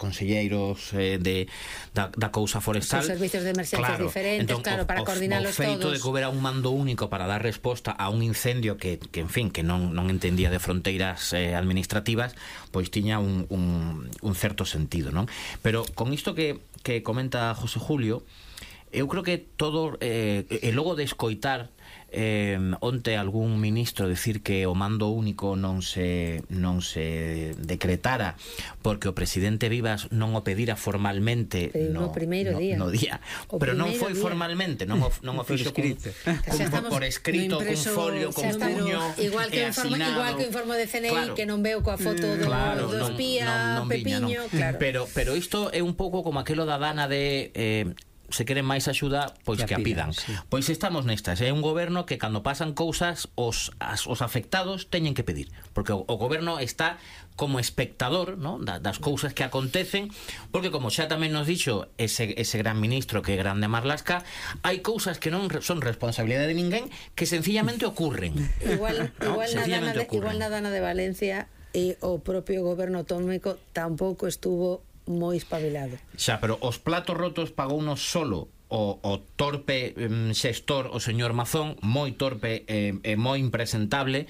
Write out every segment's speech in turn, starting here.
conselleiros da cousa forestal. Os servicios de emerxencias diferentes, entón, claro, para coordinalos todos. O feito de que houbera un mando único para dar resposta a un incendio que en fin, que non entendía de fronteiras administrativas, pois tiña un certo sentido, non? Pero con isto que comenta José Julio, eu creo que todo e logo de escoitar onte algún ministro decir que o mando único non se decretara porque o presidente Vivas non o pedira formalmente no primeiro día. Pero non foi formalmente, non o fixo por escrito, cun folio, con puño e asinado. Igual que o informe de CNI, que non veo coa foto do espía Pepiño, claro. Pero isto é un pouco como aquelo da Dana de se queren máis axuda, pois que a pidan. Sí. Pois estamos nestas. É un goberno que cando pasan cousas os afectados teñen que pedir, porque o goberno está como espectador, ¿no?, das cousas que acontecen, porque como xa tamén nos dixo ese gran ministro que é Grande Marlaska, hai cousas que non son responsabilidade de ninguén, que sencillamente ocurren. Igual na Dana de Valencia e o propio goberno autonómico tampouco estuvo moi espabilado. Xa, pero os platos rotos pagounos solo o torpe xestor, o señor Mazón, moi torpe e moi impresentable,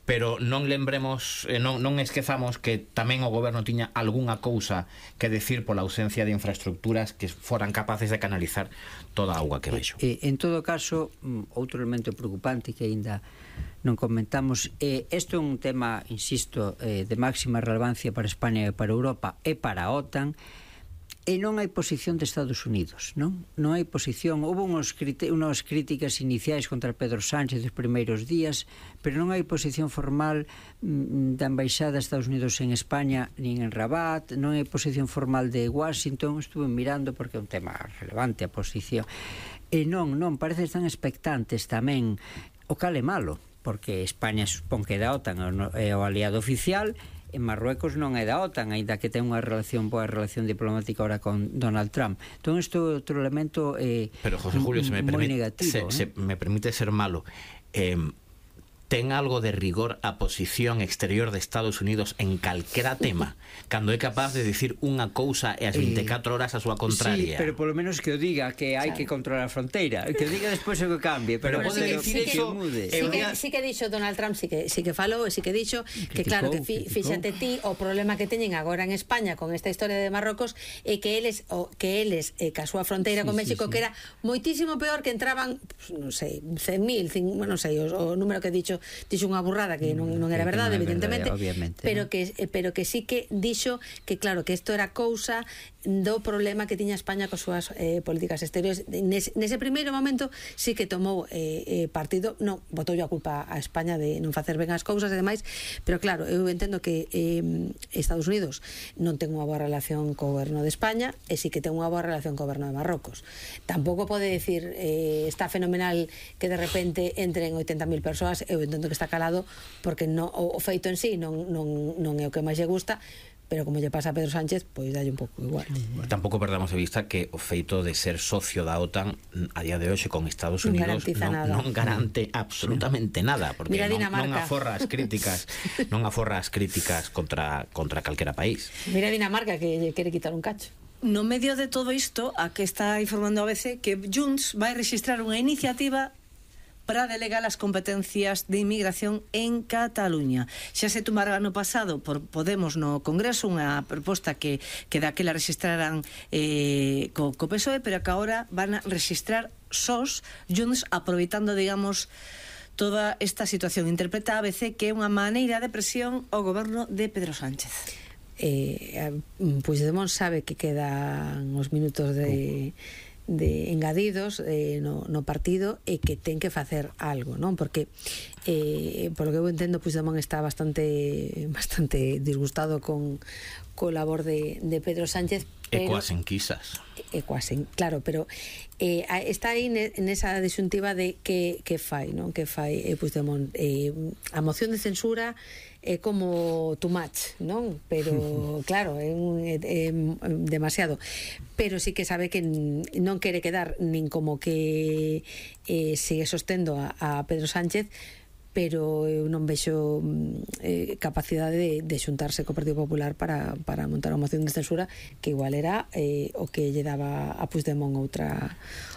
pero non lembremos, non esquezamos que tamén o goberno tiña algunha cousa que decir pola ausencia de infraestructuras que foran capaces de canalizar toda a auga que vexo. En todo caso, outro elemento preocupante que aínda non comentamos, isto é un tema, insisto, de máxima relevancia para España e para Europa e para a OTAN, e non hai posición de Estados Unidos, non hai posición. Houve unhas críticas iniciais contra Pedro Sánchez dos primeiros días, pero non hai posición formal da Embaixada de Estados Unidos en España nin en Rabat, non hai posición formal de Washington. Estuve mirando porque é un tema relevante a posición, e non, parece que están expectantes tamén, o cal é malo, porque España supón que é da OTAN, é o aliado oficial. En Marruecos non é da OTAN, aínda que ten unha boa relación diplomática ahora con Donald Trump. Entón isto é outro elemento pero José Julio, se me permite ser malo, ten algo de rigor a posición exterior de Estados Unidos en calquera tema, cando é capaz de dicir unha cousa e as 24 horas a súa contraria. Sí, pero polo menos que o diga, que hai que controlar a fronteira, que o diga despois o que cambie, pero pode decir eso. Sí que dixo Donald Trump, sí que falou, sí que dixo que claro, que fíxate ti o problema que teñen agora en España con esta historia de Marrocos é que eles ca súa fronteira con México, que era moitísimo peor, que entraban, non sei, 100.000, non sei o número que dixo unha burrada que non era verdade, evidentemente, pero que sí que dixo que claro, que isto era cousa do problema que tiña España coas súas políticas exteriores. Nese primeiro momento sí que tomou partido, non botoulle a culpa a España de non facer ben as cousas e demais, pero claro, eu entendo que Estados Unidos non ten unha boa relación co goberno de España e sí que ten unha boa relación co goberno de Marrocos. Tampouco pode decir está fenomenal que de repente entren 80.000 persoas. Eu entendo que está calado porque o feito en sí non é o que máis lle gusta, pero como lle pasa a Pedro Sánchez, pois dalle un pouco igual. Tampouco perdamos de vista que o feito de ser socio da OTAN a día de hoxe con Estados Unidos non garante absolutamente nada, porque non aforra as críticas contra calquera país. Mira Dinamarca, que lle quere quitar un cacho. No medio de todo isto, a que está informando a ABC que Junts vai registrar unha iniciativa para delegar as competencias de inmigración en Cataluña. Xa se tomara ano pasado por Podemos no Congreso unha proposta que daquela registraran co PSOE, pero que agora van a registrar sós Junts, aproveitando, digamos, toda esta situación. Interpreta a ABC que é unha maneira de presión ao goberno de Pedro Sánchez. Puigdemont sabe que quedan os minutos de engadidos no partido e que ten que facer algo, non? Porque por lo que eu entendo, Puigdemont está bastante disgustado con labor de Pedro Sánchez, e coas enquisas. Claro, pero está aí nesa disyuntiva de que fai, non? Que fai Puigdemont. A moción de censura é como too much, non? Pero claro, é demasiado. Pero sí que sabe que non quere quedar nin como que sigue sostendo a Pedro Sánchez, pero eu non vexo capacidade de xuntarse co Partido Popular para montar unha moción de censura que igual era o que lle daba a Puigdemont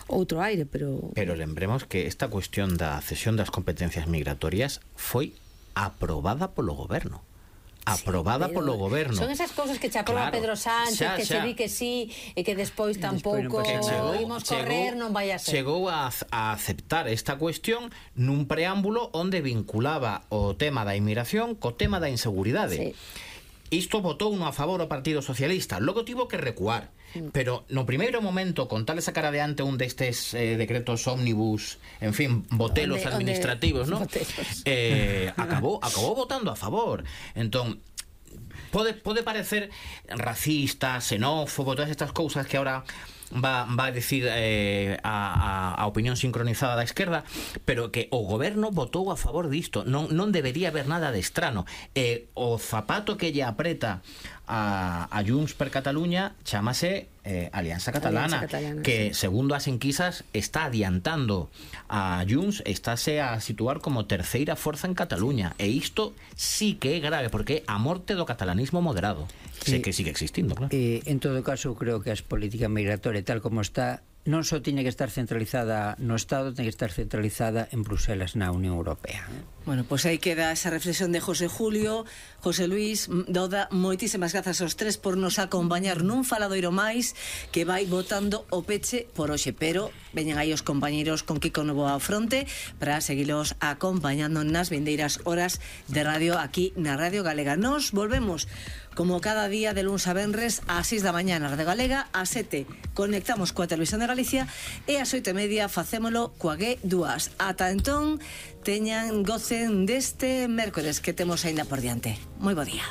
outro aire, pero lembremos que esta cuestión da cesión das competencias migratorias foi aprobada polo goberno. Aprobada polo goberno. Son esas cousas que che aproba Pedro Sánchez, que se di que sí e que despois tampouco imos correr, non vai a ser. Chegou a aceptar esta cuestión nun preámbulo onde vinculaba o tema da inmigración co tema da inseguridade. Isto votou no a favor o Partido Socialista, logo tivo que recuar. Pero no primeiro momento, con tal sacar adiante un destes decretos ómnibus, en fin, botelos administrativos, ¿no? Acabou votando a favor. Entón, pode parecer racista, xenófobo, todas estas cousas que ahora va a decir a opinión sincronizada da esquerda, pero que o goberno votou a favor disto. Non debería haber nada de estrano. O zapato que lle apreta a Junts per Catalunya chamase Alianza Catalana, que segundo as enquisas está adiantando a Junts, estáse a situar como terceira forza en Cataluña, e isto sí que é grave, porque é a morte do catalanismo moderado, que sigue existindo, claro. En todo caso, creo que a política migratoria tal como está non só tiene que estar centralizada no Estado, tiene que estar centralizada en Bruselas, na Unión Europea. Bueno, pois aí queda esa reflexión de José Julio, José Luís, Doda, moitísimas grazas aos tres por nos acompañar nun faladoiro máis que vai botando o peche por hoxe, pero veñen aí os compañeiros con Kiko Novo ao fronte para seguilos acompañando nas vindeiras horas de radio aquí na Radio Galega. Nos volvemos como cada día de luns a venres ás 6 da mañá na Radio Galega, ás 7 conectamos coa Televisión de Galicia e ás 8:30 facémolo coa G2. Ata entón, gocen deste mércores que temos aínda por diante. Moi bo día.